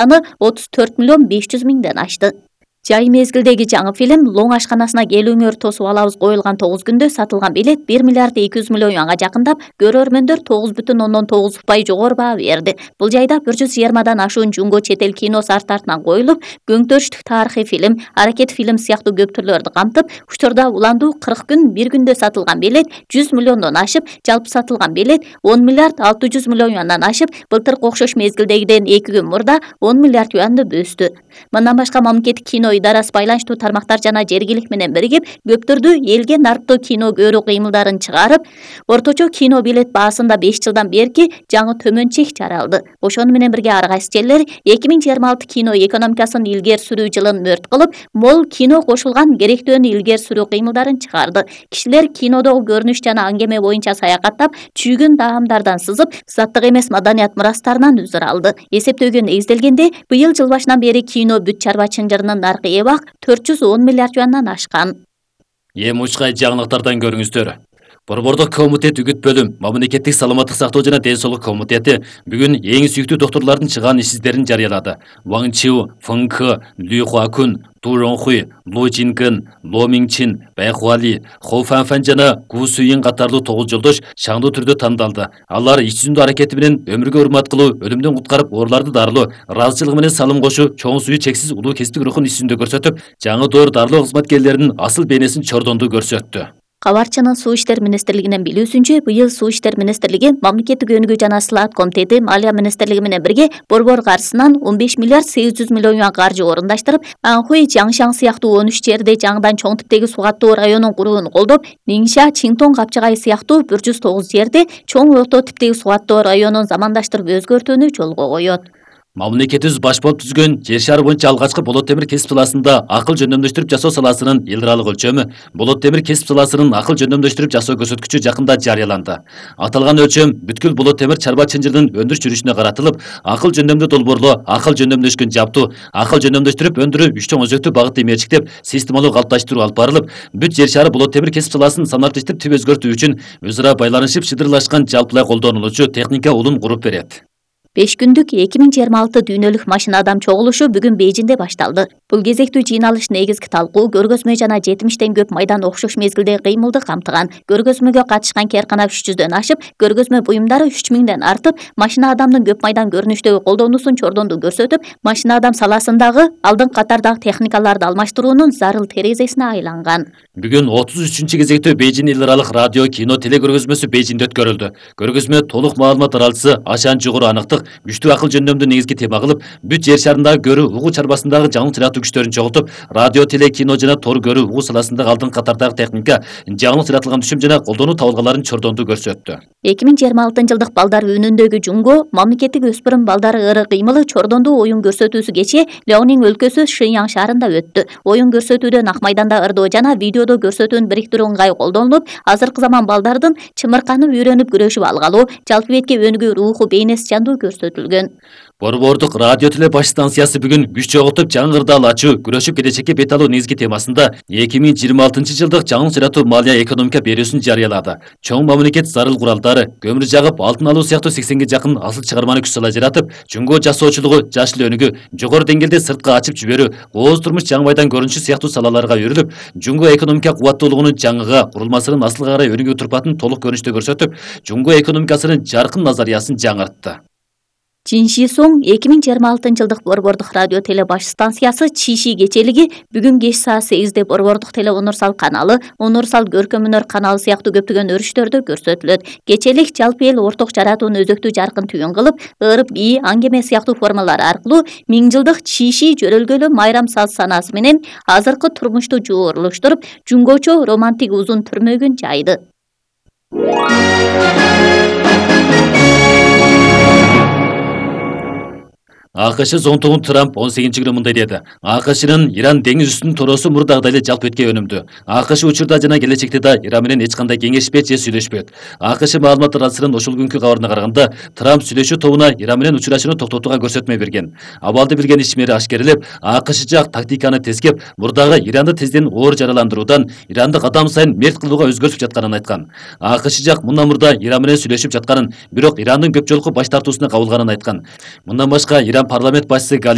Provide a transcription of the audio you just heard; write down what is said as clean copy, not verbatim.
саны 34.500.000ден ашты. Жай мезгилдеги жаңы фильм Лоң ашканасына келүүңөр тосуп алабыз коюлган 9 күндө сатылган билет 1 миллиард 200 миллион юанга жакындап, көрөрмөндөр 9,9% жогору баа берди. Бул жайда 120дан ашуун жунго чет эл киносу арт артынан коюлуп, көңтөрүштүк тарыхый фильм, аракет фильм сыяктуу көп түрлөрдү камтып, учурда уландуу 40 күн 1 күндө сатылган билет 100 миллиондон ашып, жалпы сатылган билет 10 миллиард 600 миллион юандан ашып, былтыркы окшош мезгилдегиден 2 күн мурда 10 миллиард юанды бөстү. Мындан башка мамлекеттик кино идарасы байланыштуу тармактар жана жергилик менен биригип, көптөрдү элге нарттуу кино көрүү кыймылдарын чыгарып, орточо кино билет баасында 5 жылдан берки жаңы төмөн чек жаралды. Ошону менен бирге ар кайсы жерлер 2026 кино экономикасын илгери сүрүү жылын мөрт кылып, мол кино кошулган керектөөнү илгери сүрүү кыймылдарын чыгарды. Кишилер кинодогу көрүнүш жана аңгеме боюнча саякаттап, чүйгүн даамдардан сызып, заттык эмес маданият мурастарынан үзүр алды. Эсептөөгө негизделгенде, быйыл жыл башынан бери кино бүт чарба чынжырынын наркы эбак 410 миллиард юандан ашкан. Эми учкай жаңылыктардан көрүңүздөр. Борбордук комитет үгүт бөлүм, мамлекеттик саламаттык сактоо жана ден соолук комитети бүгүн эң сүйүктүү доктурлардын чыган ишсиздерин жарыялады. Ван Чиу, Фэн Кэ, Лю Хуакун, Ту Ронхуй, Лу Чингэн, Ло Минчин, Бай Хуали, Хо Фанфан жана Гу Суин катарлуу 9 жолдош шаңдуу түрдө тандалды. Алар иш жүзүндө аракети менен өмүргө урмат кылуу, өлүмдөн куткарып ооруларды дарылоо, ыраазычылыгы менен салым кошуу, чоң сүйүү чексиз улуу кесиптик рухун иш жүзүндө көрсөтүп, жаңы доор дарылоо кызматкерлеринин асыл бейнесин чордонду көрсөттү. Кабарчынын Суу иштер министрлигинин билүүсүнчө, быйыл Суу иштер министрлиги, мамлекеттик өнүгүү жана сылаат комитети, Малия министрлиги менен бирге борбор каржысынан 15 миллиард 800 миллион юан каржы орундаштырып, Анхуй, Жаңшаң сыяктуу 13 жерде жаңыдан чоң типтеги суу каттоо районун курууну колдоп, Ниңша, Чинтон, Капчагай сыяктуу 109 жерде чоң орто типтеги суу каттоо районун замандаштырып өзгөртүүнү жолго коет. Мамлекетибиз баш болуп түзгөн жер шары боюнча алгачкы болот темир кесип саласында акыл жөндөмдөштүрүп жасоо саласынын эл аралык өлчөмү, болот темир кесип саласынын акыл жөндөмдөштүрүп жасоо көрсөткүчү жакында жарыяланды. Аталган өлчөм бүткүл болот темир чарба чынжырынын өндүрүш жүрүшүнө каратылып, акыл жөндөмдүү долбоорлоо, акыл жөндөмдөшкөн жабдуу, акыл жөндөмдөштүрүп өндүрүү үч чоң өзөктүү багытты мерчиктеп, системалуу калыпташтыруу алып барылып, бүт жер шары болот темир кесип саласын санариптештирип түп өзгөртүү үчүн өз ара байланышып шыдырлашкан жалпылай колдонулуучу техника улун куруп берет. 5 күндүк 2026 дүйнөлүк машина адам чогулушу бүгүн Бейжинде башталды. Бул кезектүү жыйналыш негизги талкуу, көргөзмө жана 70тен көп майдан окшош мезгилдеги кыймылды камтыган. Көргөзмөгө катышкан керкана 300дөн ашып, көргөзмө буюмдары 3000ден артып, машина адамдын көп майдан көрүнүштөгү колдонуусун чордонду көрсөтүп, машина адам саласындагы алдыңкы катардагы техникаларды алмаштыруунун зарыл терезесине айланган. Бүгүн 33-чү кезектүү Бейжин эл аралык радио, кино, телекөргөзмөсү Бейжинде өткөрүлдү. Көргөзмө толук маалымат аралчысы Ашан жогору аныктык, күчтүү акыл жөндөмдү негизги тема кылып, бүт жер шарындагы көрүү угуу чарбасындагы жаңы сыяктуу күчтөрүн чогултуп, радио, теле, кино жана тор көрүү угуу саласындагы алдыңкы катардагы техника, жаңы сыяратылган түшүм жана колдонуу табылгаларын чордонду көрсөттү. 2026 жылдык балдар үнүндөгү жунго мамлекеттик өспүрүм балдары ыры кыймылы чордондуу оюн көрсөтүүсү кечээ Леонин өлкөсү Шыяң шаарында өттү. Оюн көрсөтүүдө ак майданда ырдоо жана видеодо көрсөтүүнү бириктирүү ыңгай колдонулуп, азыркы заман балдардын чымырканып үйрөнүп күрөшүп алгалуу, жалпы бетке өнүгүү руху бейнеси жандуу көрсөтүлгөн. Борбордук радио теле баш станциясы бүгүн күч чогултуп жаңы кырдаал ачуу, күрөшүп келечекке бет алуу негизги темасында 2026 жылдык жаңы сыяратуу малия экономика берүүсүн жарыялады. Чоң мамлекет зарыл куралдары, көмүр жагып, алтын алуу сыяктуу 80ге жакын асыл чыгарманы күч сала жаратып, жунго жасоочулугу, жашыл өнүгүү, жогору деңгээлде сыртка ачып жиберүү, кооз турмуш жаңы майдан көрүнүшү сыяктуу салаларга өрүлүп, жунго экономика кубаттуулугунун жаңыга, курулмасынын асылга карай өнүгүү турпатын толук көрүнүштө көрсөтүп, жунго экономикасынын жаркын назариясын жаңыртты. Чинши Соң 2026 жылдык борбордук радио теле баш станциясы Чиши кечелиги бүгүн кеч саат 8де борбордук теле Унурсал каналы, Унурсал көркөм өнөр каналы сыяктуу көптөгөн өрүштөрдө көрсөтүлөт. Кечелик жалпы эл орток жаратууну өзөктүү жаркын түйүн кылып, ырып бий, аңгеме сыяктуу формалар аркылуу 1000 жылдык Чиши жөрөлгөлүү майрам саз санаасы менен азыркы турмушту жуурулуштуруп, жунгочо романтик узун түрмөгүн жайды. АКШ зонтогун Трамп 18-күнү мындай деди. АКШнын Иран деңиз үстүнүн торосу мурдагыдай эле жалп этке өнүмдү. АКШ учурда жана келечекте да Иран менен эч кандай кеңешпейт же сүйлөшпөйт. АКШ маалымат аралчысынын ошол күнкү кабарына караганда, Трамп сүйлөшүү тобуна Иран менен учурашууну токтотууга көрсөтмө берген. Абалды билген ишмери ашкерелеп, АКШ жак тактиканы тескеп, мурдагы Иранды тезден оор жараландыруудан Иранды кадам сайын мерт кылууга өзгөртүп жатканын айткан. АКШ жак мындан мурда Иран менен сүйлөшүп жатканын, бирок Ирандын көп жолку баш тартуусуна кабылганын айткан. Мындан башка Иран парламент башчысы